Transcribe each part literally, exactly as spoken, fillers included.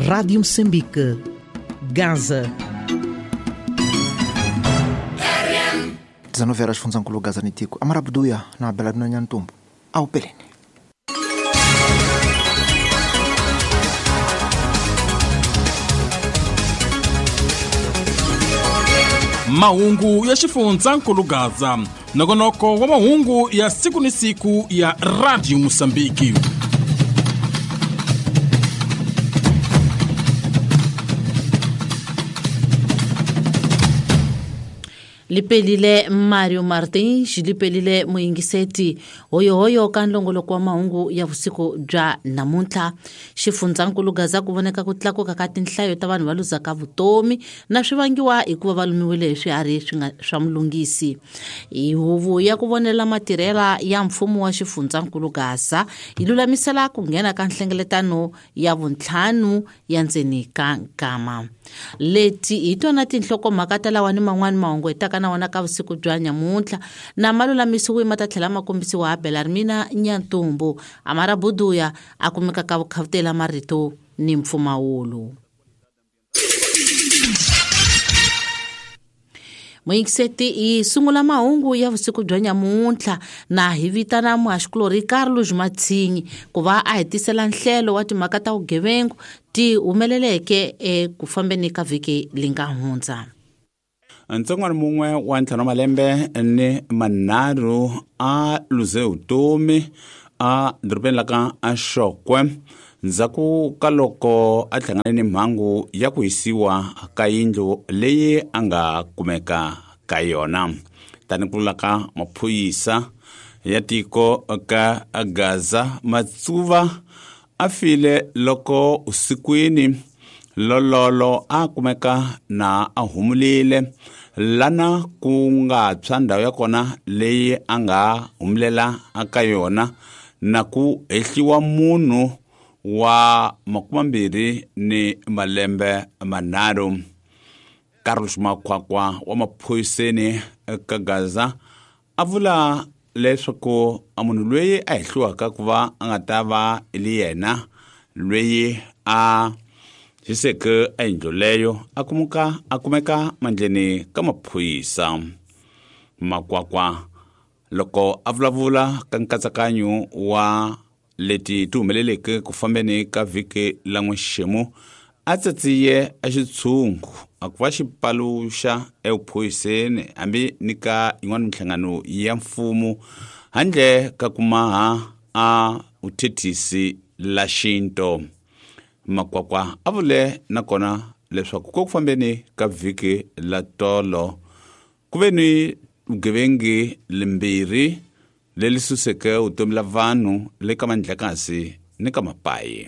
Rádio Moçambique, Gaza. dezenove horas função Gaza nitico. Amarabuduia na Beladuna Nhantumbo. Ao Pelene. Mahungu ya xifundzhankulu Gaza, nongonoko wa mahungu ya siku ni siku ya Radio Mozambique. Lipelile Mario Martins, lipelile muyingiseti hoyohoyo ka nlongoloko wa mahungu ya vusiku bya namuntlha. Xifundzhankulu Gaza ku voneka ku tlakuka ka tinhlayo ta vanhu va luzaka vutomi na swi vangiwa hikuva va lumiwile hi swiharhi swi nga swa mulungisi. Hi huvo ya ku vonela matirhela ya mfumo wa xifundzhankulu Gaza yi lulamisela ku nghena ka nhlengeletano ya vuntlhanu ya ndzeni ka nkama. Leti hi tona tinhlokomhaka ta lawa ni man'wani mahungu hi taka na wona ka vusiku bya nyamuntlha na malulamisiwe ma ta tlhela ma kombisiwa ha Belarmina Nyantumbu. Amara Buduya a kumeka ka vukhavutela marito ni mpfumawulo. Muyingiseti yi sungula mahungu ya vusiku bya nyamuntlha na hi vitana muhaxikulorhi Carlos Matsinyi ku va a hetisela nhlelo wa timhaka ta vugevengu ti humeleleke eku fambeni ka vhiki li nga hundza. Ntsongwana mun'we wa ntlhanu wa malembe ni manharhu a luze vutomi a dorobeni la ka Xokwe ndzhaku ka loko a hlangane ni mhangu ya ku hisiwa ka yindlu leyi a nga kumeka ka yona. Tani ku vula ka maphorisa ya tiko ka Gaza, Matsuva a file loko usikwini lololo a kumeka na a humulile lana ku nga tshwa ndhawu ya kona leyi a nga humulela ka yona na ku hehliwa munhu wa makumambirhi ni malembe manharhu. Carlos Makwakwa wa maphoriseni ka Gaza a vula leswaku a munhu loyi a hehliwaka ku va a nga ta va li yena loyi a hiseke a yindlu leyo a kumuka a kumeka mandleni ka maphorisa. Makwakwa loko a vulavula ka nkatsakanyo wa leti ti humeleleke ku fambeni ka vhiki la n'wexemu a tsatsiye a xitshungu a ku va xi paluxa evuphoriseni hambi ni ka yin'wana minhlangano ya mfumo handle ka ku maha a vuthethisi la xinto. Makwakwa a vule nakona leswaku ko ku fambeni ka vhiki la tolo ku ve ni vugevengi limbirhi leri suseke vutomi la vanhu le ka mandlakasi ni ka mapayi.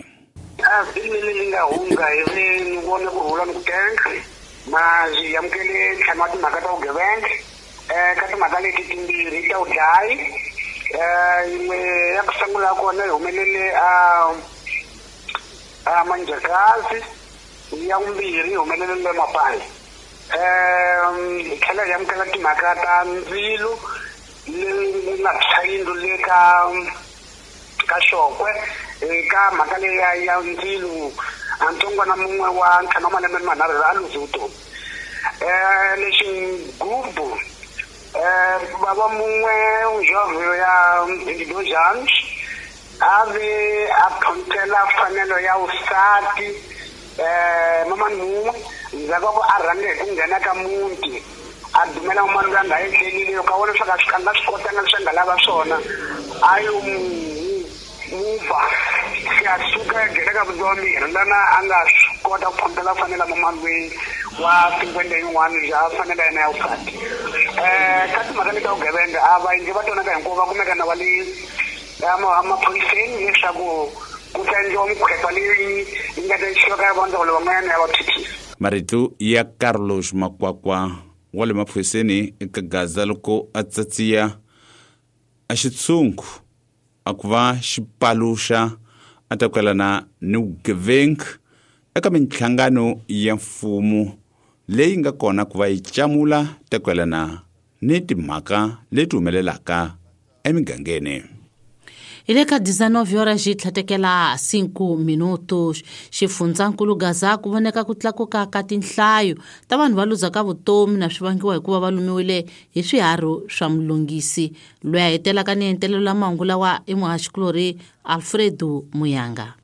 A vhiki leri li nga hundza hi ve ni vone ku rhula ni ku tenga ma byi amukele ntlhanu wa timhaka ta vugevenga um ka timhaka leti timbirhi ta vudlayi um yin'we ya ku sungula kona yi humelele a a Manjakazi, ya vumbirhi yi humelele Mapayi. Um hi tlhela hi amukela timhaka ta ndzilo leyi nga tshwa yindlu le ka ka Xokwe. Eka mhaka leyi ya ya ndzilo a ntsongwana mun'we wa ntlhanu wa malembe ni manharhu a luze vutomi. Um lexi gubu um bava mun'we jovhe ya vinte e dois anos a ve a phonthela fanelo ya vusati um mamani mun'we ndzhaku ka ku a rhange hi ku nghena ka muti a dumela mamani loyi a nga etlelile yo ka vona leswaku a nga swi kotanga leswi a nga lava swona a yo muva se a suka a nghena ka vutomi lana a nga swi kota ku phonthela fanela mamani loyi wa cinquenta yin'wana bya fanela yena ya vusati. Um ka timhaka leti ta vugevenga a vaendli va tona ka hinkwavo va kumeka na va le emaphoriseni leswaku ku ta endliwa mikhwepa leyi yi nga ta yisiwa ka vandzawulo van'wanyana ya vathethisi. Marito ya Carlos Makwakwa wa le maphoriseni eka Gaza loko a tsatsiya a xitshungu a ku va xi paluxa a ta kwelana ni vugevenga eka minhlangano ya mfumo leyi nga kona ku va yi camula ta kwelana ni timhaka leti humelelaka emigangeni. Hi le ka dezenove horas yi tlhatekela cinco minutos. Xifundzankulu Gaza ku voneka ku tlakuka ka tinhlayo ta vanhu va luzaka vutomi na swi vangiwa hikuva va lumiwile hi swiharhi swa mulungisi. Loyi a hetelaka ni entelelo la mahungu lawa i muhaxikulorhi Alfredo Muyanga.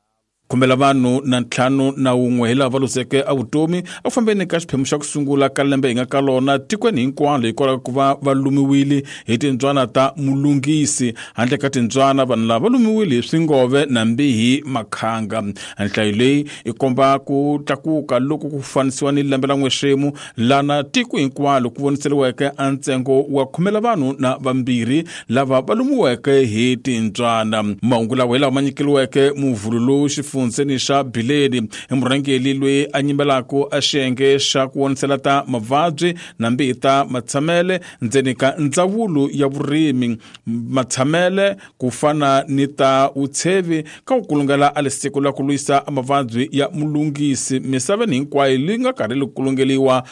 Khumbela vanhu na ntlhanu na wun'we hi lava va luzeke a vutomi eku fambeni ka xiphemu xa ku sungula ka lembe hi nga ka lona tikweni hinkwalo hikwalaho ku va va lumiwile hi tintswana ta mulungisi. Handle ka tintswana vanhu lava va lumiwile hi swingove nambi hi makhanga. Nhlayo leyi i komba ku tlakuka loko ku fanisiwa ni lembe la n'wexemu lana tiko hinkwalo ku voniseriweke a ntsengo wa khumela vanhu na vambirhi lava va lumiweke hi tintswana. Mahungu lawa hi lawa ma nyikeliweke muvhulu xifundzeni xa Bileni i murhangeri loyi a nyimbelaka a xiyenge xa ku vonisela ta mavabyi nambi ta matshamele ndzeni ka ndzawulo ya vurimi matshamele ku fana ni ta vutshevi ka ku kulungela a lisiko la ku lwisa mavabyi ya mulungisi misaveni hinkwayo leyi nga karhi li kulungeliwa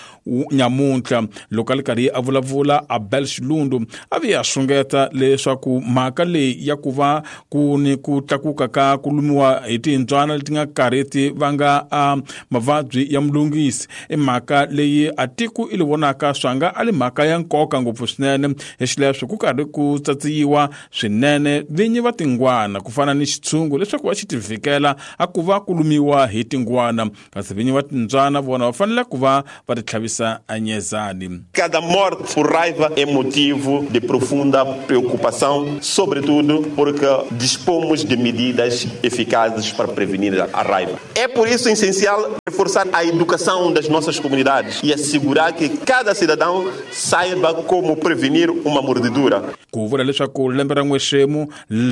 nyamuntlha. Loko a li karhi a vulavula Abel Xilundu a vuya a xungeta leswaku mhaka leyi ya ku va ku ni ku tlakuka ka ku lumiwa hi tintswana leti nga karhi ti vanga a mavabyi ya mulungisi i mhaka leyi a tiko i li vonaka swanga a li mhaka ya nkoka ngopfu swinene hi xileswo ku karhi ku tsatsiyiwa swinene vinyi va tingwana ku fana ni xitshungu leswaku va xi ti vhikela a ku va ku lumiwa hi tingwana kasi vinyi va tintswana vona va fanele ku va va ti tlhavisa anyezani. Cada morte por raiva é motivo de profunda preocupação, sobretudo porque dispomos de medidas eficazes para prevenir a raiva. É por isso essencial reforçar a educação das nossas comunidades e assegurar que cada cidadão saiba como prevenir uma mordedura. Ku vula leswaku lembe ra n'wexemu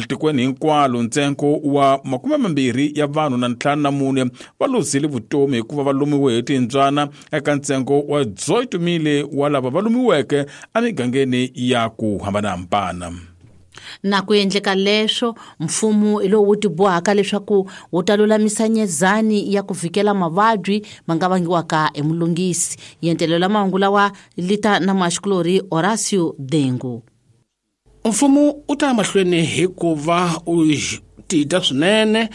tikweni hinkwalo ntsengo wa makume mambirhi ya vanhu na ntlhanu na mune va luzile vutomi hikuva va lumiwe hi tintswana eka ntsengo wa dezoito mile wa lava va lumiweke emigangeni ya ku hambanahambana. Na ku endleka leswo mfumo hi lowu wu tibohaka leswaku wu ta lulamisa nyezani ya ku vhikela mavabyi ma nga vangiwaka hi mulungisi. Yentelelo la mahungu lawa lita na muhaxikulorhi Horacio Dengu. Mfumo u ta mahlweni hikuva u tita swinene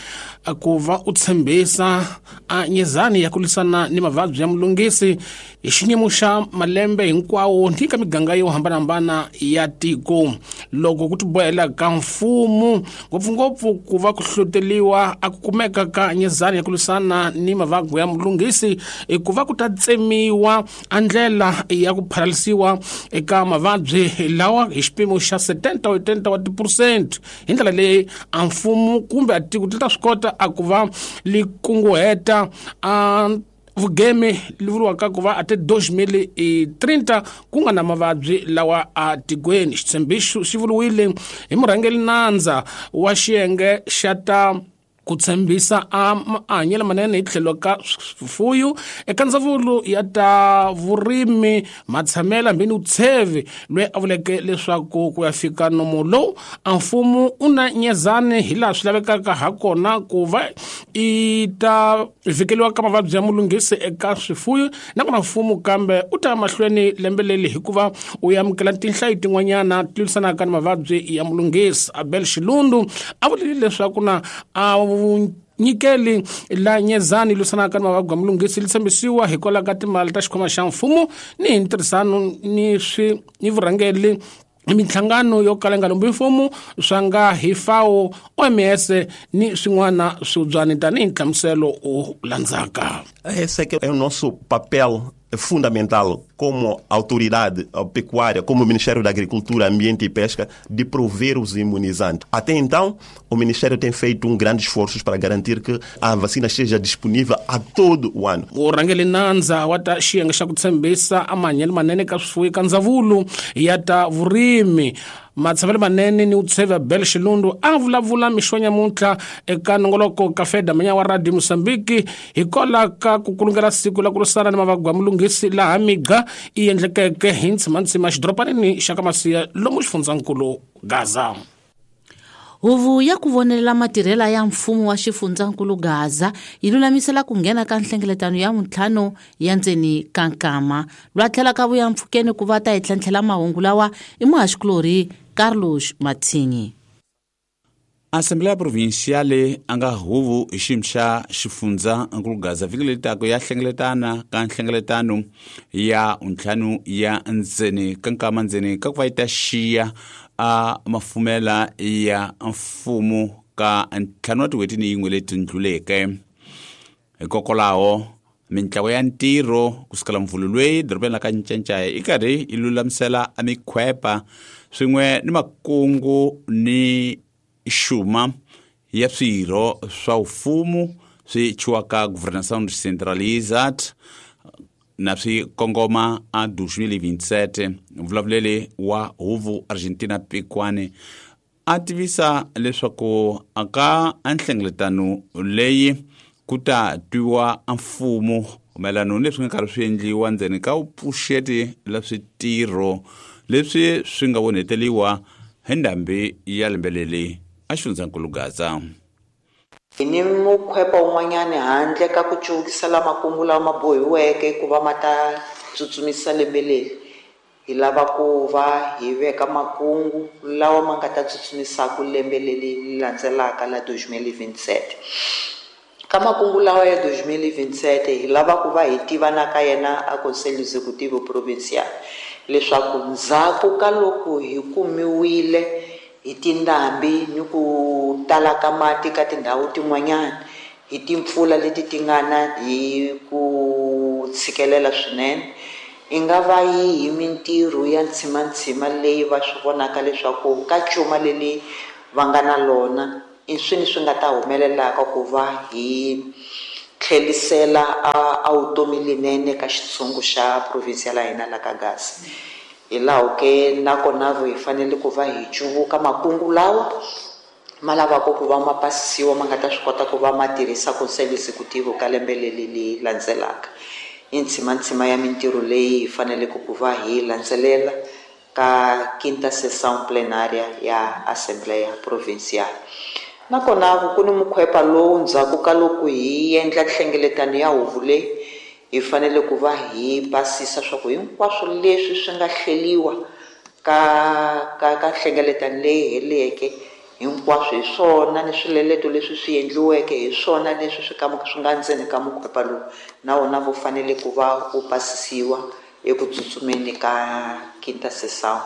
ku va u tshembisa a nyezani ya ku lwisana ni mavabyi ya mulungisi hi xiyimo xa malembe hinkwawo ni ka miganga yo hambanahambana ya tiko. Loko ku tibohela ka mfumo ngopfungopfu ku va ku hlohloteliwa a ku kumeka ka nyezani ya ku lwisana ni mavabyi ya mulungisi i ku va ku ta tsemiwa a ndlela ya ku phalalisiwa eka mavabyi lawa hi xipimo xa setenta oitenta wa tiphesente. Hi ndlela leyi a mfumo kumbe a tiko ti ta swi kota a ku va li kunguheta a vugeme li vuriwaka ku va ate dois mil e trinta ku nga na mavabyi lawa a tikweni. Xitshembiso xi vuriwile hi murhangeri nandza wa xiyenge xa ta ku tshembisa a mahanyelo manene hi tlhelo ka swifuyo eka ndzawulo ya ta vurimi matshamela hambi ni vutshevi loyi a vuleke leswaku ku ya fika nomo lowu a mfumo u na nyezani hi laha swi lavekaka ha kona ku va i ta vhikeliwa ka mavabyi ya mulunghisi eka swifuyo nakona mfumo kambe u ta mahlweni lembe leri hikuva u amukela tinhlayo tin'wanyana ti lwisanaka ni mavabyi ya mulunghisi. Abel Xilundu a vulile leswaku na a nyikeli la nyezani lwisanaka ni mavabyi ya mulunghisi li tshembisiwa hikwalaho ka timali ta xikhwama xa mfumo ni hi ntirhisano ni swi ni vurhangeri minhlangano yo kala nga lombi mfumo swa nga hi FAO, O M S ni swin'wana swibyani tanihi nhlamuselo u landzaka. Esse é o nosso papel fundamental como autoridade pecuária, como Ministério da Agricultura, Ambiente e Pesca, de prover os imunizantes. Até então, o Ministério tem feito um grande esforço para garantir que a vacina esteja disponível a todo o ano. Murhangeri nandza wa ta xiyenge xa ku tshembisa amahanyelo manene ka swifuwo ka ndzawulo ya ta vurimi matshamelo manene ni utsheva Bel Xilundu a vulavula mixo nyamuntlha eka nongoloko ka Feda Manya wa Radio Mozambique hikwalaho ka ku kulungela siku la ku lwisana ni mavabyi ya mulunghisi laha miga i endlekeke hi ntsimantsima xidoropanini xa ka Masiya lomu xifundzankulu Gaza. Huvo ya ku vonelela matirhela ya mfumo wa xifundzankulu Gaza yi lulamisela ku nghena ka nhlengeletano ya vuntlhanu ya ndzeni ka nkama. Lwa tlhela ka vuya mpfhukeni ku va ta hi tlhentlhela mahungu lawa i muhaxikulorhi Carlos Mathinyi. Assembleia Provincial a nga huvo hi xiyimo xa xifundza nkulu Gaza vhiki leri taka ya hlengeletana ka nhlengeletano ya ntlhanu ya ndzeni ka nkama ndzeni ka ku va yi ta xiya a mafumela ya mfumo ka ntlhanu wa tin'hweti ni yin'we leti ndluleke. Hikokwalaho mintlawa ya ntirho kusukela mvhulu lweyi dorobeni la ka Ncancaya yi karhi yi lulamisela a mikhwepa swin'we ni makungu ni xuma ya swirho swa mfumo swi chiwaka Governação Descentralizada na swi kongoma a dois mil e vinte e sete. Mvulavuleli wa huvo Argentina Pikwane a tivisa leswaku aka nhlengeletano leyi ku ta twiwa mfumo mayelana ni leswi nga karhi swi endliwa ndzeni ka vupfuxeti la switirho leswi swi nga vonheteliwa hi ndhambi ya lembe leri a xifundzankulu Gaza. Hi ni mukhwepa wun'wanyani handle ka ku cuvukisa makungu lawa ma bohiweke ku va ma ta tsutsumisa lembe leri, hi lava ku va hi veka makungu lawa ma nga ta tsutsumisaka lembe leri landzelaka la dois mil e vinte e sete. Ka makungu lawa ya dois mil e vinte e sete hi lava ku va hi tiva na ka yena a Conselho Executivo Provincial leswaku ndzhaku ka loko hi kumiwile hi tindhambi ni ku tala ka mati ka tindhawu tin'wanyana hi timpfula leti ti nga na hi ku tshikelela swinene, i nga va yi hi mintirho ya ntshimantsima leyi va swi vonaka leswaku ka cuma leri va nga na lona i swini swi nga ta humelelaka ku va hi tlhelisela a vutomi lenene ka xitshungu xa province ya hina la ka Gaza. Hi laho ke nakona hi fanele ku va hi cuvuka makungu lawa ma lavaka ku va ma pasisiwa ma nga ta swi kota ku va ma tirhisa Conselho Executivo ka lembe leri leri landzelaka. I ntshimantsima ya mintirho leyi hi faneleke ku va hi landzelela ka quinta sessão plenária ya Assembleia Provincial. Nakona ku ni mukhwepa lowu ndzhaku ka loko hi endla nhlengeletano ya huvo leyi hi fanele ku va hi basisa swa ku hinkwaswo leswi swi nga hleliwa ka ka ka nhlengeletano leyi heleke hinkwaswo hi swona ni swileleto leswi swi endliweke hi swona leswi swi ka swi nga ndzeni ka mukhwepa lowu na wona wu fanele ku va wu pasisiwa eku tsutsumeni ka quinta sessão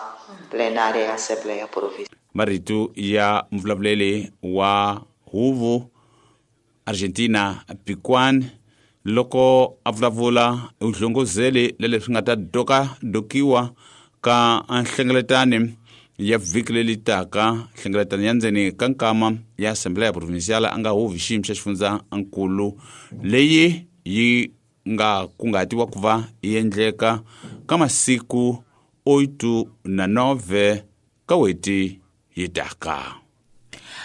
plenária ya Assembleia Provincial. Marito ya mvulavuleli wa huvo Argentina Pikwane loko a vulavula u hlongozele leswi nga ta doka dokiwa ka nhlengeletano ya vhiki leri taka nhlengeletano ya ndzeni ka nkama ya Assembleia Provincial a nga huvi xiyimo xa xifundzankulu leyi yi nga kungatiwa ku va yi endleka ka masiku oito na nove ka weti yi taka.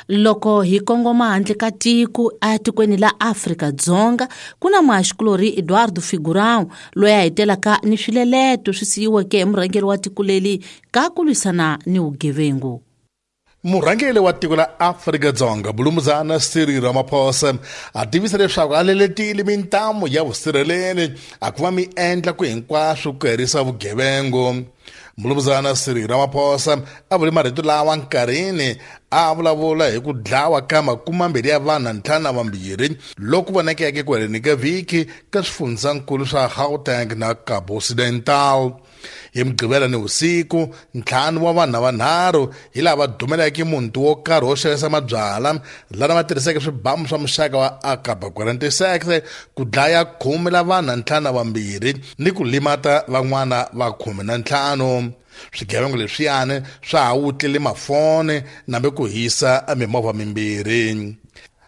Loko hi kongoma handle ka tiko etikweni la Afrika-Dzonga ku na muhaxikulorhi Eduardo Figurão loyi a hetelaka ni swileleto swi siyiweke hi murhangeri wa tiko leri ka ku lwisana ni vugevengu. Murhangeri wa tiko la Afrika-Dzonga Bulumuzana Cyril Ramaphosa a tivisa leswaku a leletile mintamu ya vusirheleri a ku va mi endla ku hinkwaswo ku herisa vugevengu. Mulumuzana Cyril Ramaphosa a vule marito lawa nkarhini a vulavula hi ku dlawa ka makumambirhi ya vanhu na ntlhanu na vambirhi loku vonakeke ku heleni ka vhiki ka swifundzankulu swa Gauteng na Cabo Occidental. Hi Mugqivela ni vusiku ntlhanu wa vanhu vanharhu hi lava dumeleke muti wo karhi wo xavisa mabyalwa lana va tirhiseke swibamu swa muxaka wa A K quarenta e seis ku dlaya khume la vanhu na ntlhanu na vambirhi ni ku limata van'wana va khume na ntlhanu. Swigevenga leswiyani swa ha wutlile mafoni nambe ku hisa mimovha mimbirhi.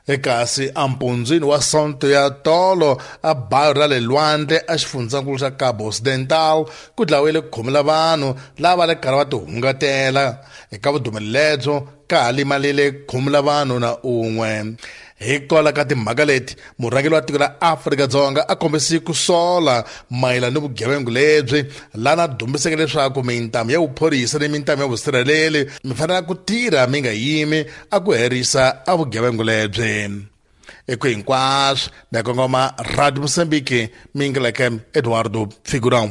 Ekasi ampundzwini wa Sonto ya tolo a bayo ra le lwandle a xifundzankulu xa Cabo Occidental ku dlawile khume la vanhu lava le karhi va tihungatela. Eka vudumeli lebyo ka ha limalile khume la vanhu na un'we. Hikwalaho ka timhaka leti murhangeri wa tiko la Afrika-Dzonga a kombise ku sola mayelana ni vugevenga lebyi lana dumbiseke leswaku mintamu ya vuphorisa ni mintamu ya vusirheleri mi fanele ku tirha mi nga yimi a ku herisa a vugevenga lebyi. Eku hinkwaswo na kongoma Radio Mozambique mi ngeleke Eduardo Figurão.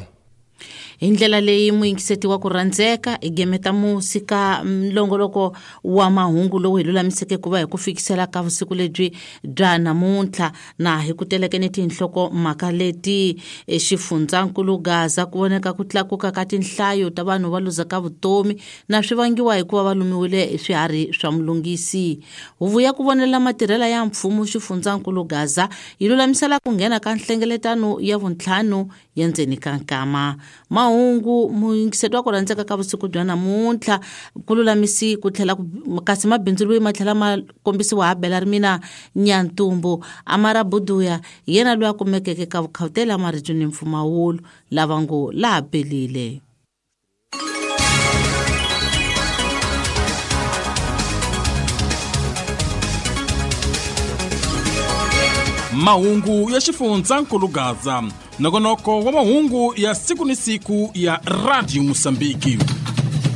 Hi ndlela leyi muyingiseti wa ku rhandzeka hi gemeta musi ka nlongoloko wa mahungu lowu hi lulamiseke ku va hi ku fikisela ka vusiku lebyi bya namuntlha na hi ku teleke ni tinhloko mhaka leti xifundzankulu Gaza ku voneka ku tlakuka ka tinhlayo ta vanhu va luzaka vutomi na swi vangiwa hikuva va lumiwile hi swiharhi swa mulungisi. Huvo ya ku vonela matirhela ya mfumo xifundzankulu Gaza yi lulamisela ku nghena ka nhlengeletano ya vuntlhanu ya ndzeni ka nkama. Mahungu muyingiseti wa ku rhandzeka ka vusiku bya namuntlha ku lulamisi ku tlhela kasi mabindzu loyi ma tlhela ma kombisiwa ha Bela Rimina Nyantumbu Amara Buduya yena loyi a kumekeke ka vukhawutela marito ni mpfumawulo lava ngo laha pelile. Mahungu ya xifundzankulu Gaza, nongonoko wa mahungu ya siku ni siku ya Radio Mosambiki.